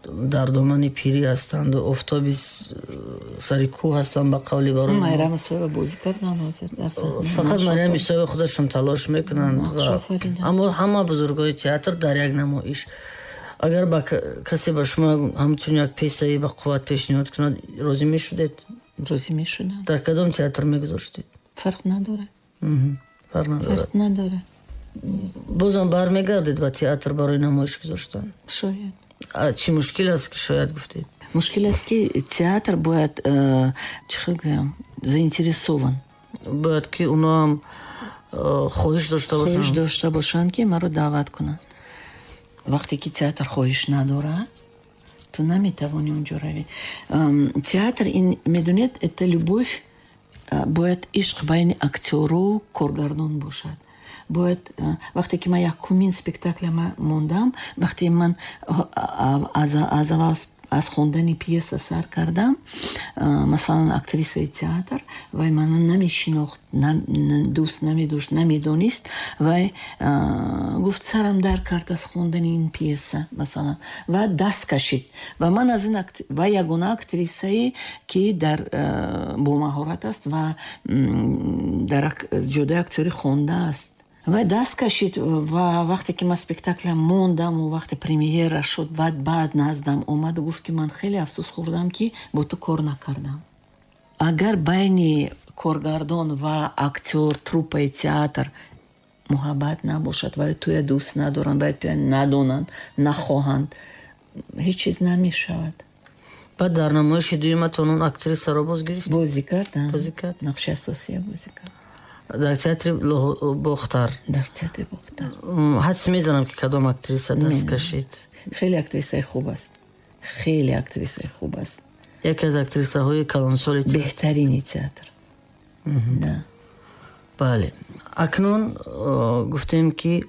Дар домани пирӣ ҳастанд, офтоби сари кӯҳ ҳастанд, ба қавли барои Майрам Исоева бозӣ карданд ҳозир дар саҳна. Фақат Марьям Исоева худашон талош мекунанд, аммо ҳама бузургони театр дар як намоиш. Агар ба касе ба шумо ҳамчун як пьесаи ба қувват пешниҳод кунад, розӣ мешудед? Розӣ мешудам. Дар кадом театр мегузоштед? Фарқ надорад. Фарқ надорад. Фарқ надорад. Бозам бармегардед ба театр барои намоиш гузоштан? Шояд. Чӣ мушкил аст, ки шояд гуфтед? Мушкил аст, ки театр бояд, чӣ хел гӯям, заинтересован. Бояд ки оно ҳам хоҳиш дошта бошанд. Хоҳиш дошта бошанд, ки маро даъват кунанд. Вақте ки театр хоҳиш надорад, ту наметавонӣ онҷо равӣ. Театр ин, медонед, это любовь, бояд ишқ байни актёру коргардон бошад. Бояд, вақте ки ман якумин спектакля мондам, вақте ман аз аввал аз хондани пьеса сар кардам, масалан, актрисаи театр вай мана намешинохт, дӯст намедошт, намедонист. Вай гуфт: «Сарам дар кард аз хондани ин пьеса», масалан, ва даст кашид. Ва ман аз ин вай ягона актрисае, ки дар бомаҳорат аст ва дар ҷодаи актёрӣ хондааст, вай даст кашид. Ва вақте ки ман спектакля мондаму вақте премьера шуд, баъд наздам омаду гуфт, ки ман хеле афсӯс хӯрдам, ки бо ту кор накардам. Агар байни коргардон ва актёр, труппаи театр муҳаббат набошад, вай туя дӯст надоранд, вай туя надонанд, нахоҳанд, ҳеҷ чиз намешавад. Баъд дар намоиши дуюматон он актрисаро боз гирифт? Бозӣ кардам. Бозӣ кард. Нақши асосия бозӣ кард. Дар театри Бохтар? Дар театри Бохтар. Ҳадс мезанам, ки кадом актриса даст кашид. Хеле актрисаи хуб аст, хеле актрисаи хуб аст. Яке аз актрисаҳои калонсоли. Беҳтарини театр, да. Бале, акнун гуфтем, ки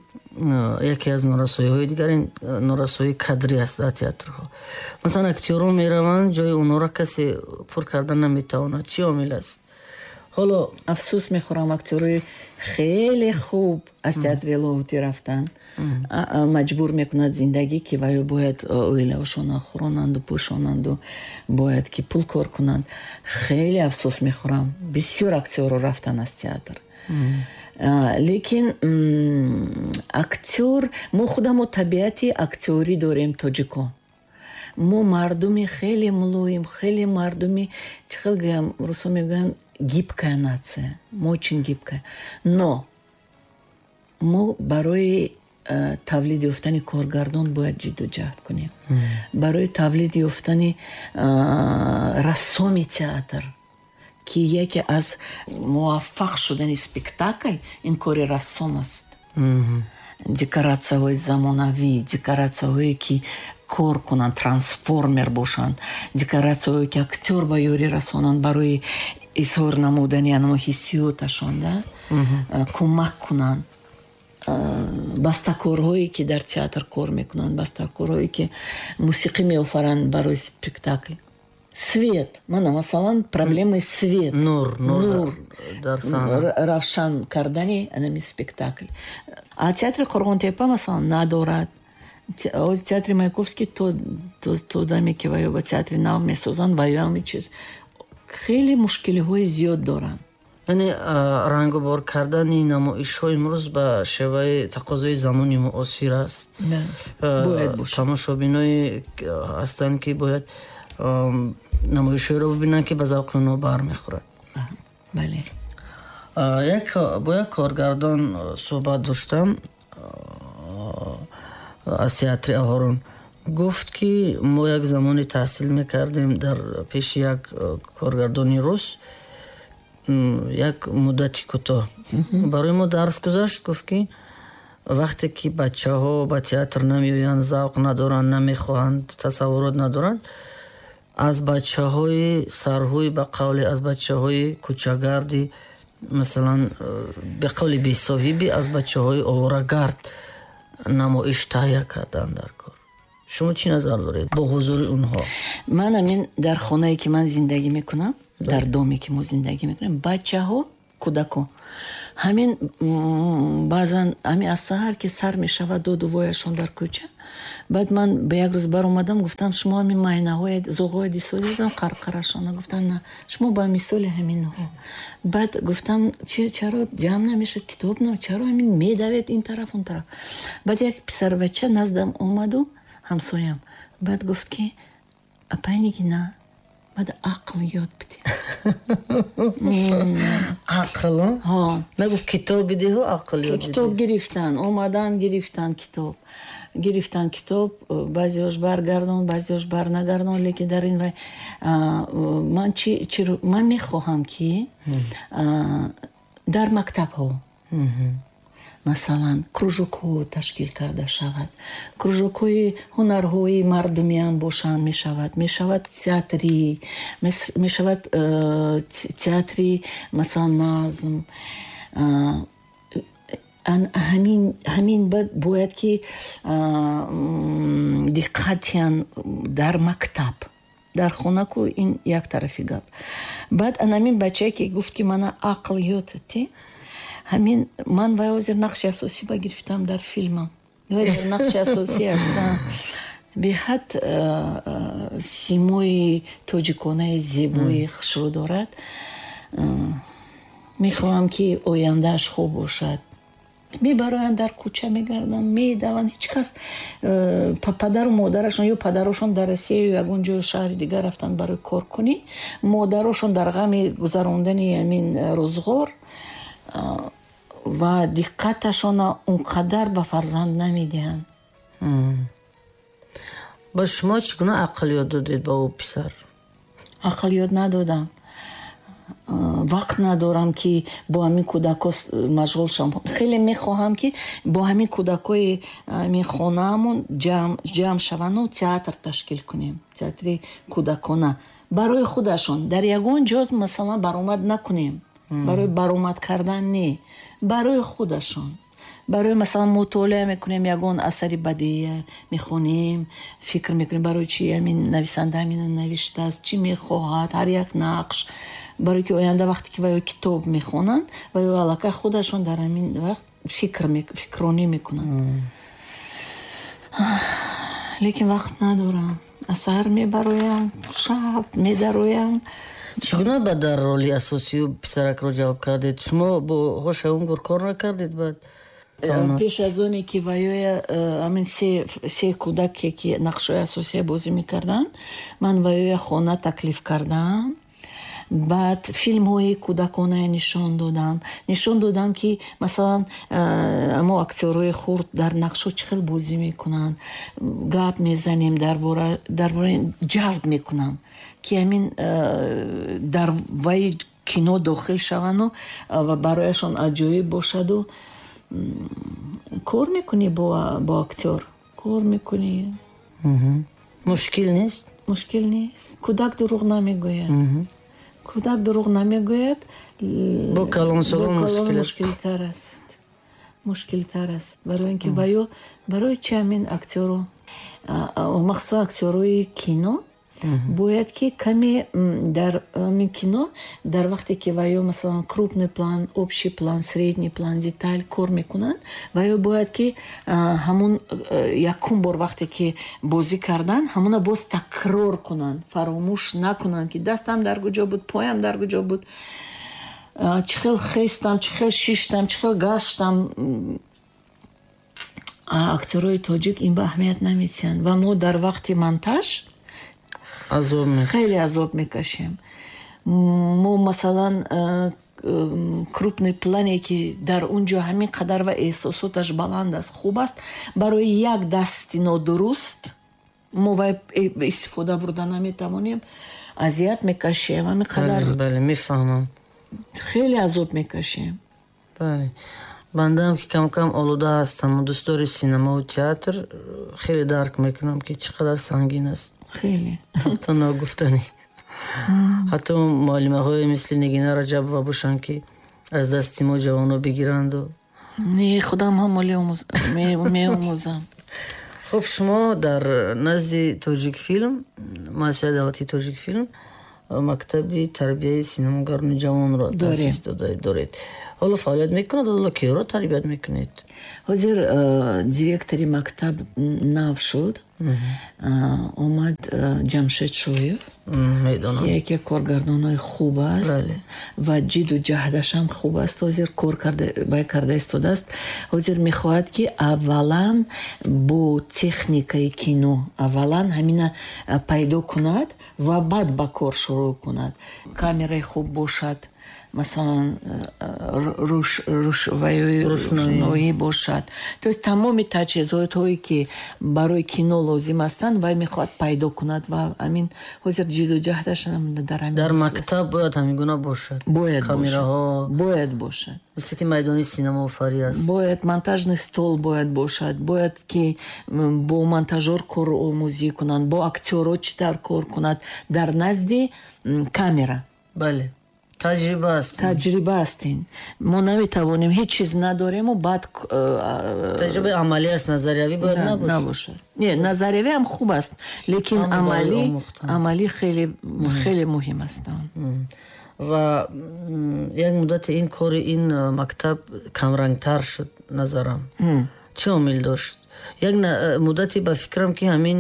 яке аз норасоиҳои дигар ин норасоии кадрӣ аст дар театрҳо. Масалан, актёрон мераванд, ҷои онҳоро касе пур карда наметавонад. Чӣ омил аст ҳоло? Афсӯс мехӯрам, актёрои хеле хуб аз театри Лоҳутӣ рафтанд. Маҷбур мекунад зиндагӣ, ки ваё бояд оилаошонро хӯронанду пӯшонанду бояд ки пул кор кунанд. Хеле афсӯс мехӯрам, бисёр актёрро рафтанд аз театр. Лекин актёр, мо худамо табиати актёрӣ дорем, тоҷикон. Мо мардуми хеле мулоим, хеле мардуми, чӣ хел гӯям, русо мегӯянд, гибкая нация, мы очень гибкая. Но мо барои тавлид ёфтани коргардон бояд ҷидду ҷаҳд кунем, барои тавлид ёфтани рассоми театр, ки яке аз муваффақ шудани спектакль ин кори рассом аст. Декоратсияҳои замонавӣ, декоратсияҳое, ки кор кунанд, трансформер бошанд, декоратсияҳое, ки актёр ба ёрӣ расонанд барои изҳор намудани анамо ҳиссиёташон, да, кӯмак кунанд. Бастакорҳое, ки дар театр кор мекунанд, бастакорҳое, ки мусиқӣ меофаранд барои спектакл, свет, мана, масалан, проблемаи свет. Нур, нур. Дар саҳна. Равшан кардани анами спектакл. А театри Қурғонтепа, масалан, надорад. Театри Маяковский то даме, ки ваё ба театри нав месозанд, ваё ҳами чиз хеле мушкилиҳои зиёд доранд. Яъне рангубор кардани намоишҳо имрӯз ба шеваи тақозои замони муосир аст. Бояд бошад. Тамошобиное ҳастанд, ки бояд намоишҳоеро бибинанд, ки ба завқи онҳо бармехӯрад. Бале. Як бо як коргардон суҳбат доштам аз театри Аҳорун. Гуфт, ки мо як замоне таҳсил мекардем дар пеши як коргардони рус, як муддати кӯтоҳ барои мо дарс гузашт. Гуфт, ки вақте ки бачаҳо ба театр намеоянд, завқ надоранд, намехоҳанд, тасаввурот надоранд, аз бачаҳои сарҳӯй, ба қавле, аз бачаҳои кӯчагардӣ, масалан, ба қавли бесоҳибӣ, аз бачаҳои оворагард намоиш таҳия кардан дар кор. Шумо чӣ назар доред бо ҳузури онҳо? Ман амин дар хонае, ки ман зиндагӣ мекунам, дар доме, ки мо зиндагӣ мекунем, бачаҳо, кӯдако ҳамин баъзан ҳамин аз саҳар ки сар мешавад доду вояшон дар кӯча. Баъд ман ба як рӯз баромадам, гуфтам, шумо ҳамин майнаҳои зоғҳои дисодидам, қарқарашона. Гуфтам, на, шумо ба мисоли ҳаминҳо. Баъд гуфтам, чаро ҷамъ намешуд китоб, на чаро ҳамин медавед ин тараф, он тараф. Баъд як писарбача наздам омаду, ҳамсоям, баъд гуфт, ки апай Нигина, баъд ақл ёд бидед. Ақл? Нагуфт китоб бидиҳу, ақл ёд? Китоб гирифтан, омадан, гирифтан китоб, гирифтан китоб. Баъзеош баргардон, баъзеош барнагардон. Лекин дар ин вай ман чи ман мехоҳам, ки дар мактабҳо, масалан, кружокҳо ташкил карда шавад, кружокҳои ҳунарҳои мардумиам бошанд, мешавад театрӣ, мешавад театри, масалан, назм. Ҳамин бояд ки диққат диҳанд дар мактаб. Дар хона ку ин як тарафи гап. Баъд анамин бачае, ки гуфт, ки мана ақл ёд те, ҳамин ман вай ҳозир нақши асосӣ ба гирифтам дар филмам, вай дар нақши асосӣ ҳастам. Беҳад симои тоҷиконаи зебои хушрӯ дорад. Мехоҳам, ки ояндааш хуб бошад. Мебароянд, дар кӯча мегарданд, медаванд. Ҳеҷ кас падару модарашон ё падарошон дар Россия ё ягон ҷои шаҳри дигар рафтанд барои коркунӣ, модарошон дар ғами гузарондани ҳамин рӯзғор ва диққаташона он қадар ба фарзанд намедиҳанд. Ба шумо чӣ гуна ақл ёд додед ба ӯ писар? Ақл ёд надодам, вақт надорам, ки бо ҳамин кӯдакҳо машғул шавам. Хеле мехоҳам, ки бо ҳамин кӯдакҳои ҳамин хонаамон ҷамъ шаванду театр ташкил кунем, театри кӯдакона барои худашон. Дар ягон ҷо, масалан, баромад накунем, барои баромад кардан не, барои худашон, барои, масалан, мутолиа мекунем, ягон асари бадеия мехонем, фикр мекунем, барои чи ҳамин нависанда ҳамина навиштааст, чӣ мехоҳад ҳар як нақш, барои ки оянда вақте ки ваё китоб мехонанд, ваё аллакай худашон дар ҳамин вақт фикронӣ мекунанд. Лекин вақт надорам, аз саҳар мебароям, шаб медароям. Чӣ гуна ба дар роли асосию писаракро ҷалб кардед? Шумо бо Ҳошаумгур кор накардед баъд? Пеш аз оне ки ваёя ҳамин се кӯдаке, ки нақшҳои асосия бозӣ мекарданд, ман ваёя хона таклиф кардам. Баъд филмҳои кӯдаконае нишон додам, нишон додам, ки, масалан, мо актёрҳои хурд дар нақшҳо чӣ хел бозӣ мекунанд. Гап мезанем дар бораи, ҷалб мекунам, ки ҳамин дар вай кино дохил шаванду ва барояшон аҷоиб бошаду. Кор мекунӣ, бо актёр кор мекунӣ. Мушкил нест? Мушкил нест. Кӯдак дурӯғ намегӯяд, кӯдак дурӯғ намегӯяд. Бо калонсолон мушкил. Мушкилтар аст, мушкилтар аст, барои ин ки ваё барои чи ҳамин актёру, махсусан актёрҳои кино, бояд ки каме дар ҳамин кино, дар вақте ки ваё, масалан, крупный план, общий план, средний план, деталь кор мекунанд, ваё бояд ки ҳамун якум бор вақте ки бозӣ кардан, ҳамуна боз такрор кунанд, фаромӯш накунанд, ки дастам дар куҷо буд, поям дар куҷо буд, чӣ хел хестам, чӣ хел шиштам, чӣ хел гаштам. Актёрҳои тоҷик ин ба аҳамият намедиҳанд ва мо дар вақти монтаж хеле азоб мекашем. Мо, масалан, крупный плане, ки дар он ҷо ҳамин қадар ва эҳсосоташ баланд аст, хуб аст, барои як дасти нодуруст мо вай истифода бурда наметавонем, азият мекашем ҳамин қадар. Бале, мефаҳмам. Хеле азоб мекашем. Бале, бандаам, ки камкам олуда ҳастам, дӯстдори синамову театр, хеле дарк мекунам, ки чӣ қадар сангин аст. Хеле. Ҳатто ногуфтанӣ, ҳатто муаллимаҳое мисли Нигина Раҷабова бошанд, ки аз дасти мо ҷавоно бигиранду. Не, худам ҳам меомӯзам. Хуб, шумо дар назди Тоҷикфилм, муассисаи давлатии Тоҷикфилм, Мактаби тарбияи синамогарони ҷавонро таъсис доред. Ҳоло фаъолият мекунад, ҳоло киҳоро тарбият мекунед? Ҳозир директори мактаб нав шуд. Омад Ҷамшед Шоев. Медонам. Яке коргардонҳои хуб аст ва ҷиду ҷаҳдашам хуб аст. Ҳозир кор вай карда истодааст. Ҳозир мехоҳад, ки аввалан бо техникаи кино аввалан ҳамина пайдо кунад ва баъд ба кор шурӯъ кунад. Камераи хуб бошад, масалан, рӯшноӣ бошад. То есть тамоми таҷҳизотҳое, ки барои кино лозим ҳастанд, вай мехоҳад пайдо кунад ва ҳамин ҳозир ҷиду ҷаҳдаш дар ҳамин. Дар мактаб бояд ҳамин гуна бошад. Бояд. Камераҳо. Бояд бошад. Мисли ки майдони синамоофарӣ аст. Бояд монтажный стол бояд бошад, бояд ки бо монтажёр коромӯзӣ кунанд, бо актёрҳо чӣ тавр кор кунад дар назди камера. Бале, таҷриба аст. Таҷриба аст ин. Мо наметавонем, ҳеҷ чиз надорему баъд. Таҷрибаи амалӣ аст, назариявӣ бояд набошад. Набошад. Не, назариявӣ ҳам хуб аст, лекин амалӣ хеле хеле муҳим аст. Ва як муддате ин кори ин мактаб камрангтар шуд, назарам. Чӣ омил дошт? Як муддате ба фикрам, ки ҳамин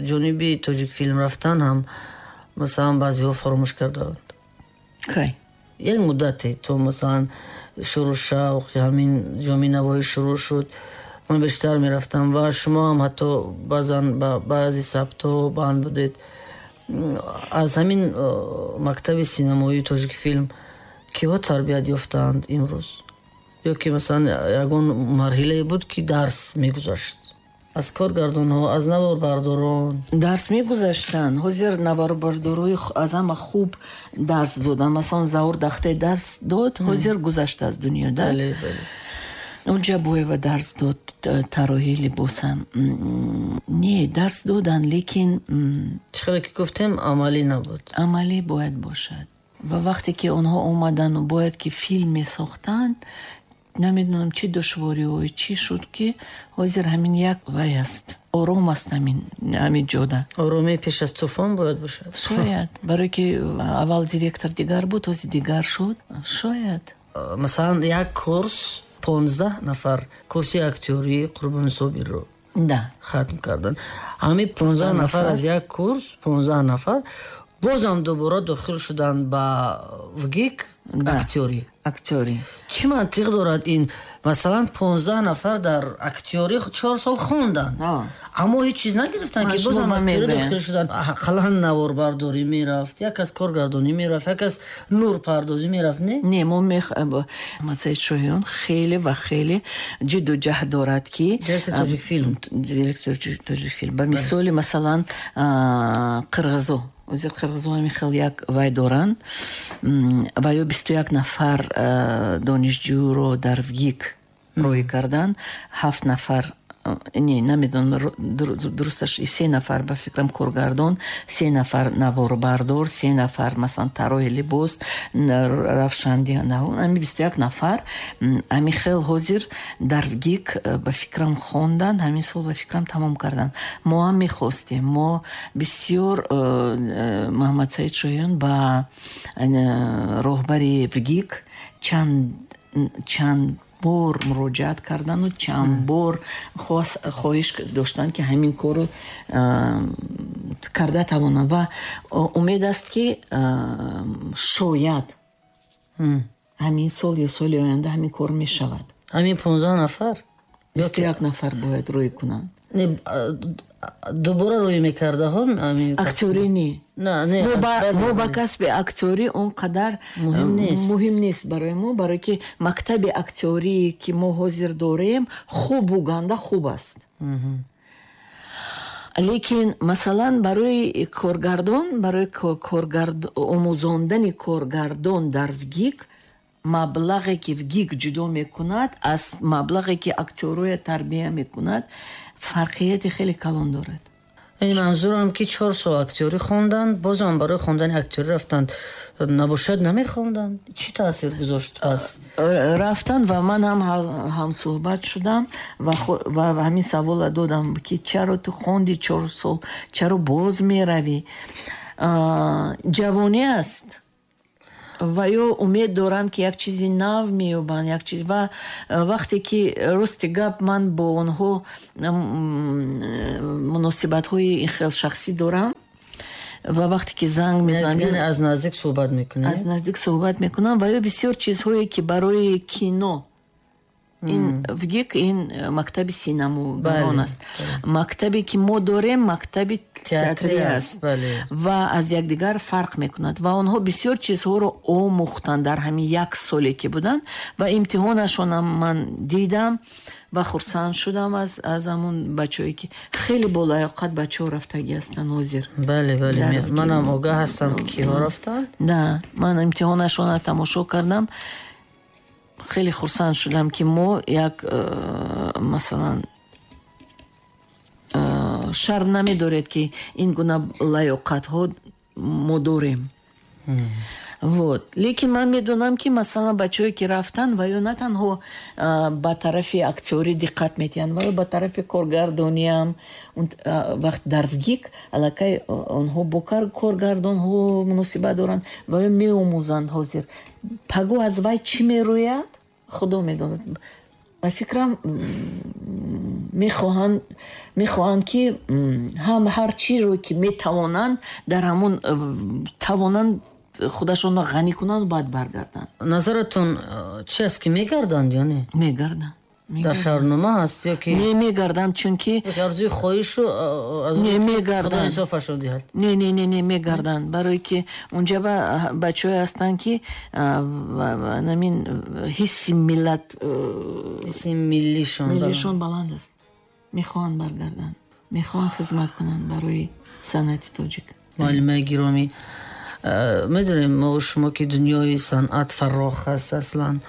ҷониби Тоҷикфилм рафтан ҳам, масалан, баъзеҳо фаромӯш кардаанд. Кай? Як муддате то, масалан, шурӯъ шавқи ҳамин ҷоми навоӣ шурӯъ шуд, ман бештар мерафтам ва шумо ҳам ҳатто баъзан ба баъзе сабтҳо банд будед. Аз ҳамин мактаби синамоии Тоҷикфилм киҳо тарбият ёфтаанд имрӯз? Ё ки, масалан, ягон марҳилае буд, ки дарс мегузашт аз коргардонҳо, аз наворбардорон? Дарс мегузаштанд. Ҳозир наворбардорои аз ҳама хуб дарс доданд. Масалан, Заур Дахте дарс дод, ҳозир гузашта аз дунё, да? Бале. Оҷабоева дарс дод тарроҳии либосам. Не, дарс доданд, лекин Чӣ хеле ки гуфтем, амалӣ набуд. Амалӣ бояд бошад. Ва вақте ки онҳо омадану бояд ки филм месохтанд, намедонам, чӣ душвориҳое чӣ шуд, ки ҳозир ҳамин як вай аст, ором аст ҳамин ҷода. Оромии пеш аз тӯфон бояд бошад. Шояд, барое ки аввал директор дигар буд, ҳозир дигар шуд, шояд. Масалан, як курс 15 нафар курси актёрии Қурбони Собирро хатм карданд. Ҳамин 15 нафар аз як курс, 15 нафар бозам дубора дохил шуданд ба ВГИК актёрӣ. Актёрӣ. Чӣ мантиқ дорад ин? Масалан, 15 нафар дар актёрӣ 4 сол хонданд, аммо ҳеҷ чиз нагирифтанд, ки бозам актёрӣ дохил шуданд. Ақаллан наворбардорӣ мерафт, як аз коргардонӣ мерафт, як аз нурпардозӣ мерафт, не? Не, мо Муҳаммадсаид Шоҳиён хеле ва хеле ҷидду ҷаҳд дорад, ки Директори Тоҷикфилм. Директори Тоҷикфилм. Ба мисоли, масалан, қирғизо, ҳозир қирғизо ҳамин хел як вай доранд ва ё 21 нафар донишҷӯро дар ВГИК рӯй карданд, ҳафт нафар, не, намедонам дурусташ, се нафар, ба фикрам, коргардон, се нафар наворбардор, се нафар, масалан, тарроҳи либос, равшанди, ҳами 21 нафар ҳами хел ҳозир дар ВГИК, ба фикрам, хонданд, ҳамин сол, ба фикрам, тамом карданд. Мо ҳам мехостем, мо бисёр Муҳаммадсаид Шоҳиён ба роҳбари ВГИК чанд бор муроҷиат кардану чанд бор хоҳиш доштанд, ки ҳамин корро карда тавонанд, ва умед аст, ки шояд ҳамин сол ё соли оянда ҳамин кор мешавад. Ҳамин 15 нафар? 21 нафар бояд рӯй кунанд. Не, дубора рӯй мекардаҳо? Актёрӣ не. Мо ба касби актёрӣ он қадар муҳим нест барои мо, барое ки мактаби актёрие, ки мо ҳозир дорем, хубу ганда хуб аст. Лекин, масалан, барои коргардон, барои омӯзондани коргардон дар ВГИК маблағе, ки ВГИК ҷудо мекунад, аз маблағе, ки актёрҳоя тарбия мекунад, фарқияти хеле калон дорад. Яъне манзурам, ки 4 сол актёрӣ хонданд, бозам барои хондани актёрӣ рафтанд. Набошад, намехонданд? Чӣ таъсир гузошт пас? Рафтанд ва ман ҳам ҳамсӯҳбат шудам ва ҳамин савола додам, ки чаро ту хонди 4 сол, чаро боз меравӣ? Ҷавонӣ аст ва ё умед доранд, ки як чизи нав меёбанд, як чиз. Ва вақте ки, рости гап, ман бо онҳо муносибатҳои ин хел шахсӣ дорам ва вақте ки занг мезанем, яъне аз наздик суҳбат мекунед? Аз наздик суҳбат мекунам ва ё бисёр чизҳое, ки барои кино, ин ВГИК, ин мактаби синамогарон аст, мактабе ки мо дорем, мактаби театрӣ аст ва аз якдигар фарқ мекунад. Ва онҳо бисёр чизҳоро омӯхтанд дар ҳамин як соле ки буданд ва имтиҳонашонам ман дидам ва хурсанд шудам аз ҳамун бачаҳое, ки хеле болаёқат бачаҳо рафтагӣ ҳастанд ҳозир. Бале, манам огаҳ ҳастам, ки киҳо рафтанд. Да, ман имтиҳонашонро тамошо кардам, хеле хурсанд шудам, ки мо як масалан, шарм намедоред, ки ин гуна лаёқатҳо мо дорем. Вот, лекин ман медонам, ки масалан, бачаҳое ки рафтанд, ва ё на танҳо ба тарафи актёрӣ диққат медиҳанд, ва ё ба тарафи коргардониам. Вақт дар ВГИК аллакай онҳо бо коргардонҳо муносибат доранд ва ё меомӯзанд. Ҳозир паго аз вай чӣ мерӯяд, худо медонад. Ба фикрам, мехоҳанд, ки ҳам ҳар чиро ки метавонанд, дар ҳамон тавонанд худашонро ғанӣ кунанд, баъд баргарданд. Назаратон чи аст, ки мегарданд ё не? Мегарданд. Дар шаҳрнома ҳаст ё ки Не, мегарданд, чунки арзуи хоҳишу аз Не, мегарданд. Худо инсофашон диҳад. Не, не, не, не, мегарданд, барое ки унҷа бачаҳое ҳастанд, ки намин ҳисси миллат, ҳисси миллишон миллишон баланд аст, мехоҳанд баргарданд, мехоҳанд хизмат кунанд барои санъати тоҷик. Муаллимаи гиромӣ, медонем мо шумо, ки дунёи санъат фарох аст. Аслан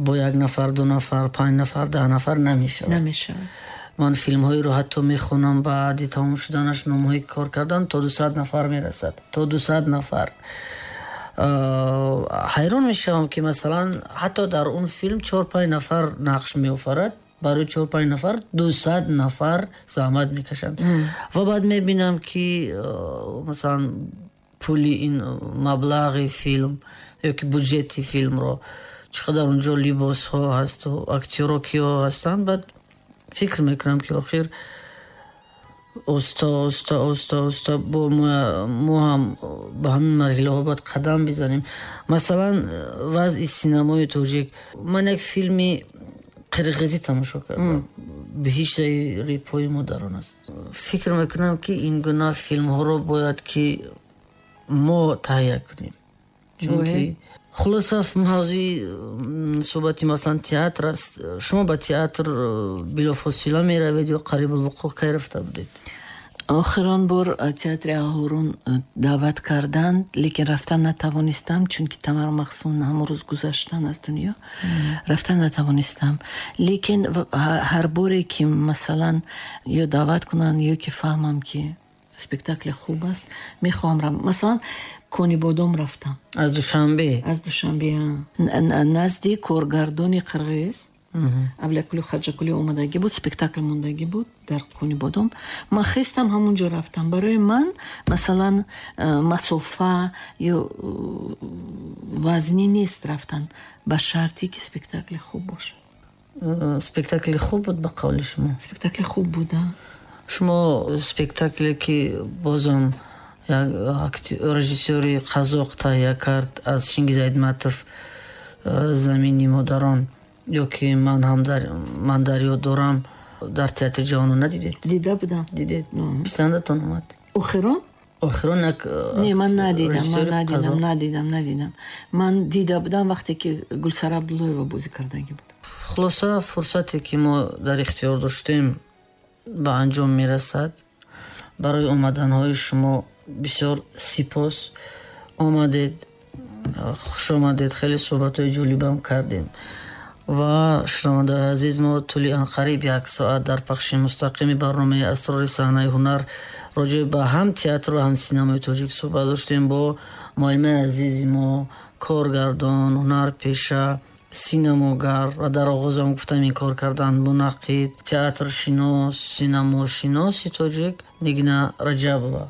бо як нафар, ду нафар, панҷ нафар, 10 нафар намешавад. Намешавад. Ман филмҳоеро ҳатто мехонам, баъди тамом шуданаш номҳои кор кардан то 200 нафар мерасад, то 200 нафар. Ҳайрон мешавам, ки масалан, ҳатто дар он филм чор панҷ нафар нақш меофарад, барои чор панҷ нафар 200 нафар заҳмат мекашанд. Ва баъд мебинам, ки масалан, пули ин маблағи филм ё ки буҷети филмро, чӣ қадар унҷо либосҳо ҳасту актёро киҳо ҳастанд. Баъд фикр мекунам, ки охир оста оста, оста оста бо мо ҳам ба ҳамин марҳилаҳо бояд қадам бизанем. Масалан, вазъи синамои тоҷик, ман як филми қирғизӣ тамошо кардам, беҳиштаи репои мо дар он аст. Фикр мекунам, ки ин гуна филмҳоро бояд ки мо таҳия кунем, чунки хулоса, мавзӯи суҳбати, масалан, театр аст. Шумо ба театр билофосила меравед ё қарибулвуқӯъ? Кай рафта будед? Охирон бор театри Аҳорун даъват карданд, лекин рафтан натавонистам, чунки Тамара Махсум ҳамон рӯз гузаштан аз дунё, рафтан натавонистам. Лекин ҳар боре ки масалан, ё даъват кунанд, ё ки фаҳмам, ки спектакли хуб аст, мехоҳам рам. Масалан, Конибодом рафтам. Аз Душанбе? Аз Душанбе, назди коргардони қирғиз Аблякулу Хаҷакулӣ омадагӣ буд, спектакл мондагӣ буд дар Конибодом. Ман хестам, ҳамон ҷо рафтам. Барои ман, масалан, масофа ё вазнӣ нест рафтан, ба шарте ки спектакли хуб бошад. Спектакли хуб буд, ба қавли шумо? Спектакли хуб буд. Шумо спектакле ки бозам як режиссёри қазоқ таҳия кард, аз Чингиз Айтматов, «Замини модарон» ё ки «Ман ҳам ман дар ёд дорам», дар театри ҷавонон надидед? Дида будам. Дидед? Писандатон омад? Охирон? Охирон як Не, ман надидам, ман надидам, надидам, надидам. Ман дида будам, вақте ки Гулсара Абдуллоева бозӣ кардагӣ буд. Хулоса, фурсате ки мо дар ихтиёр доштем, ба анҷом мерасад. Барои омаданҳои шумо бисёр сипос. Омадед, хуш омадед, хеле суҳбатҳои ҷолибам кардем. Ва шунавандаи азиз, мо тӯли анқариб як соат дар пахши мустақими барномаи «Асрори саҳнаи ҳунар» роҷеъ ба ҳам театру ҳам синамои тоҷик суҳбат доштем бо муаллимаи азизи мо, коргардон, ҳунарпеша, синамогар ва дар оғозам гуфтам, ин кор кардан, мунаққид, театршинос, синамошиноси тоҷик Нигина Раҷабова.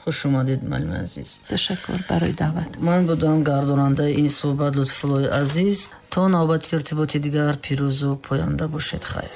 Худо. Хуш омадед, муаллими азиз. Ташаккур барои даъват. Ман будам гардонандаи ин суҳбат, Лутфуллои Азиз. То навбати иртиботи дигар пирӯзу поянда бошед. Хайр.